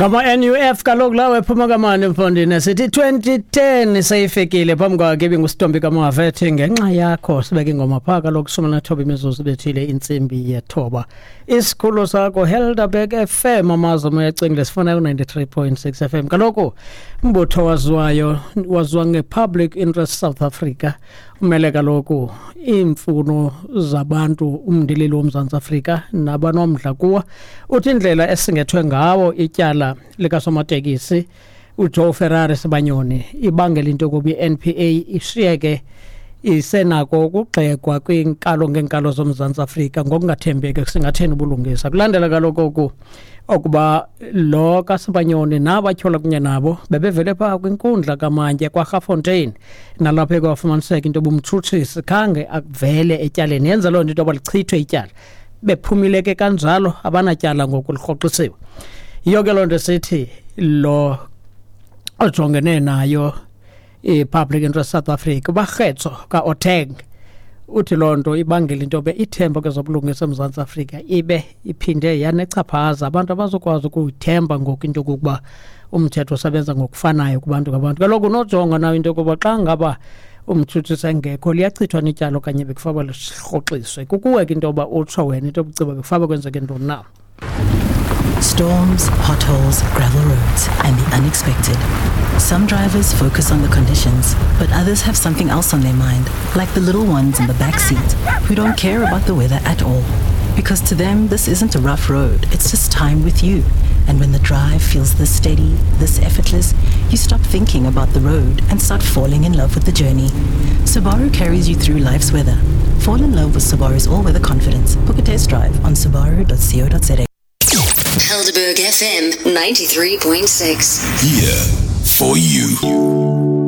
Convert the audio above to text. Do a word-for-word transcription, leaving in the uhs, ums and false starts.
Ngama-N U F kaloku lawo ephuma kamani mfondini. Sithi twenty ten seyifikile. Phambi kwakhe ibinguSitombi kaMava ethi "Ngenxa Yakho". Sibeke ingoma phaa kaloku shumi nathoba imizuzu bethile intsimbi yethoba. Isikhululo sakho Helderberg F M, amazwi omoya ecingile, sifuna ku-ninety-three point six F M. Kaloku umbutho waziwayo waziwa nge-Public Interest South Africa umele kaloku iimfuno zabantu, umndilili woMzantsi Afrika nabanomdla kuwo. Uthi indlela esingethwe ngawo ityala likasomatekisi uJoe Ferrari Sibanyoni ibangela into yokuba i-N P A ishiyeke isenako ukugxekwa kwiinkalo ngeenkalo zoMzantsi Afrika ngokungathembeki kusingatheni ubulungisa. Kulandela kaloku oku okuba lo kaSibanyoni nabatyholwa kunye nabo bebevele phaa kwinkundla kamantye kwaRafontein, nalapho ekwafumaniseka into yoba umtshutshisi khange avele etyaleni, yenza loo nto into yoba lichithwe ityala. Bephumile ke kanjalo, abanatyala ngoku, lirhoxisiwe. Yiyo ke loo nto sithi lo ojongene nayo i-Public Interest South Africa, uBakgetso ka Oteng, uthi loo nto ibangela into yoba ithemba kwezobulungisa eMzantsi Afrika ibe iphinde yanechaphaza. Abantu abazokwazi ukuyithemba ngoku into yokokuba umthetho usebenza ngokufanayo kubantu ngabantu. Kaloku unojonga nayo into yokuba xa ngaba umtshutshisi engekho liyachithwa netyala okanye bekufanele lirhoxiswe. Kukuwe ke into yoba utsho wena into yobuciba bekufanele kwenzeke ntoni na. Storms, potholes, gravel roads, and the unexpected. Some drivers focus on the conditions, but others have something else on their mind, like the little ones in the back seat who don't care about the weather at all. Because to them, this isn't a rough road, it's just time with you. And when the drive feels this steady, this effortless, you stop thinking about the road and start falling in love with the journey. Subaru carries you through life's weather. Fall in love with Subaru's all-weather confidence. Book a test drive on subaru dot co dot za. Helderberg F M ninety-three point six. Here for you.